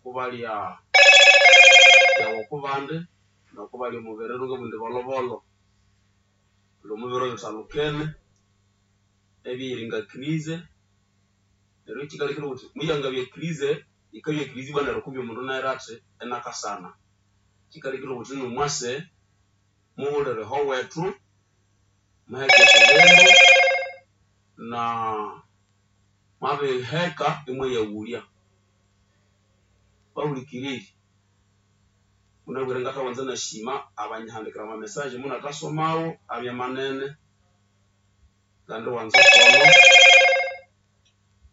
Okubalya yawa okubandi nokubalya omubiri ngabugha indi bolhobolho thuli omubiro bithalukene ebyeyiringa kirize neryo ekikalekire wuthi muyangabya kirize yikabya kirize ibwa neryo kumbe omundu inahira athi inakasana kikalekire wuthi nomwase mughulire ahowethu muheke okubindu na mwabiheka imwayaghulya bahulikiriri munabwire ngathawanza inasima abanyihandikira ama message munathasomawo abya manene ngandiwanza okono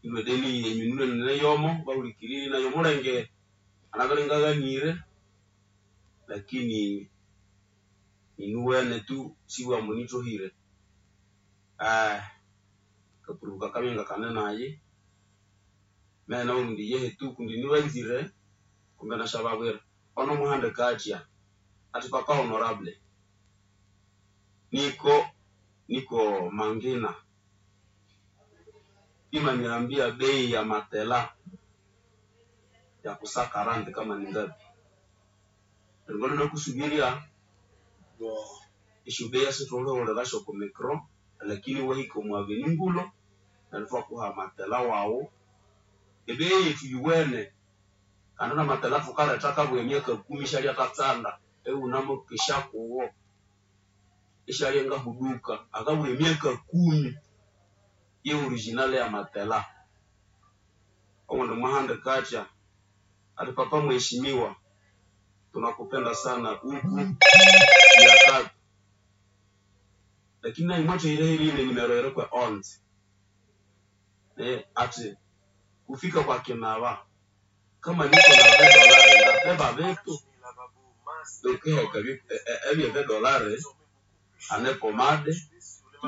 ilhwe edeni yenyu nilhwe inineyomo bahulikiriri nayi omulenge nganabere ingaghanire lakini ninuwene tu sibugha ambu nithohire akapuripwe kakabya ingakane nayi mehe nabughambu indi yehe tu kundi inibanzire kumbe inasyababwira ono mwahandika athya athi papa honorable niko Mangina pima niambia bei ya matela ya kusa 40 kama ni ngapi neryo ngalwe inakusubirya esyobeya sithulihulirasyo oku micro lakini iwahika omu avenue Ngulo neryo ithwakuha amatela waghu ebeyi yethu yuwene kandi namatela thukaletha akabugha emyaka kumi isyalyathatsanda iwunamukesya kugo isyalyangahuduka akabugha emyaka kumi ye original yamatela owundi mwahandika athya athi papa mheshimiwa tunakupenda sana huku Biakato lakini naye mwathahira erine numero yirikwe 11 athi kufika kwa kinaba kama niko na $20 ndabeba vitu ukiheka ebye $20 hane pomade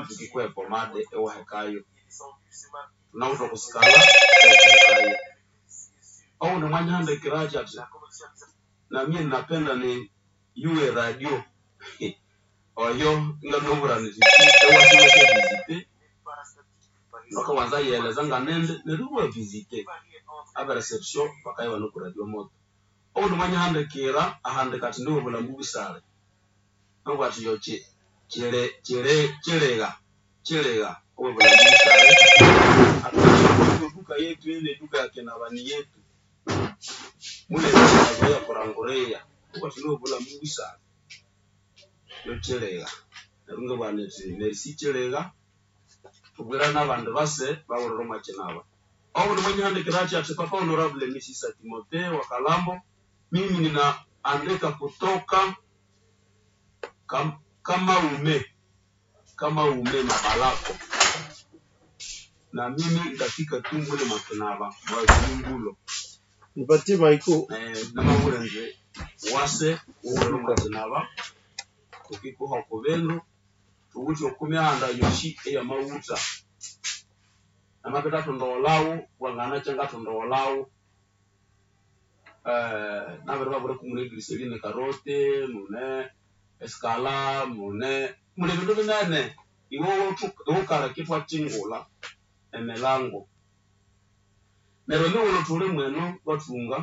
tukikuha epomade iwahekayo thunawithe okusikala iwukahekayo owundi mwanyihandikira athi athi namie napenda ni yuwe radio oyo ingamubwira indi iwasa iwasyavisite bakawanza yiyeleza nganindi neryo iwavisite abe reception bakabya ibane oku radio moto owundi mwanyihandikira ahandika athi indi wobulhambu busale nabugha athi yo kyiligha kyiligha owebulhambu busale athi eduka yetu ile eduka ya kinaba ni yetu mulebe ya kuranguria nabugha athi niwobulhambu busale yo kyiligha neryo ingabugha indi merci kyiligha thubwire nabandi base baghulire omwa kinaba owundi mwanyihandikira athi athi papa honorable Misisa Timothée wa Kalambo mimi ninaandika kutoka Kamaume Mabalako na mimi nitafika tu mule Makinaba mwazingulo Nipatie maiko namabwira indi wase wughulire omwa kinaba thukikuha okubindu thuwithe okumihanda yosi eyamaghutha namabya thathundagholhawo wanganakya ngathundagholhawo nabiribabwira kumune eglycerine karote mune esikala mune muli ebindu binene iwe wukaleka ithwakyingulha emilango neryo emighulhu thuli mweno bathunga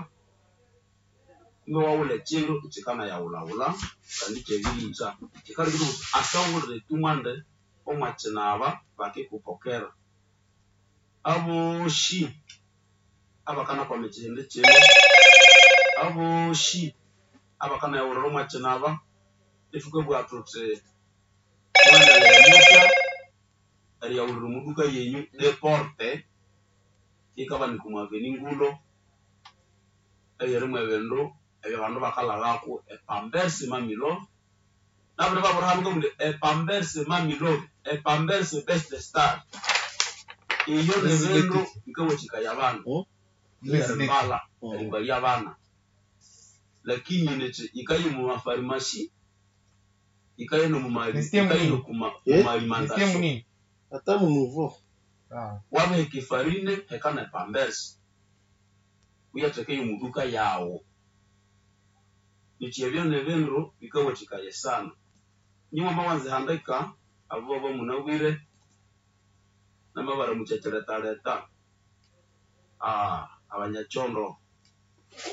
kumbe iwaghulha ekyindu ikyikanayaghulhaghulha kandi ikyabirihitha kyikalekire wuthi asa wughulire tumwandi omwa kyinaba bakikupokera aboshi abakanakwama ekyihindi kyino aboshi abakanayaghulira omwa kyinaba ithukabugha thuthi mughendeleye muthya eriyaghulira omuduka yenyu deporte yikabanika omu avenue Ngulo eyiri mwebindu ebyabandu bakalhaghako epampersi mamilove nabiribabwira hano ngabugha indi epampersi mamilove epampersi best star iyo nibindu bikawathikaya abandu erimbalha erimbalya abana lakini nithi yikaya omu mafarimasi yikaya Nisikie nokumaalimentation munini. Ata munuvo wabiheka efarine heka ne pampersi wuyathekeyo omuduka yaghu nikyi ebyo nibindu bikawathikaya sana inye mwamawanza erihandika abo bamunabwire namabaramukya kyirethaleta abanyakyondo.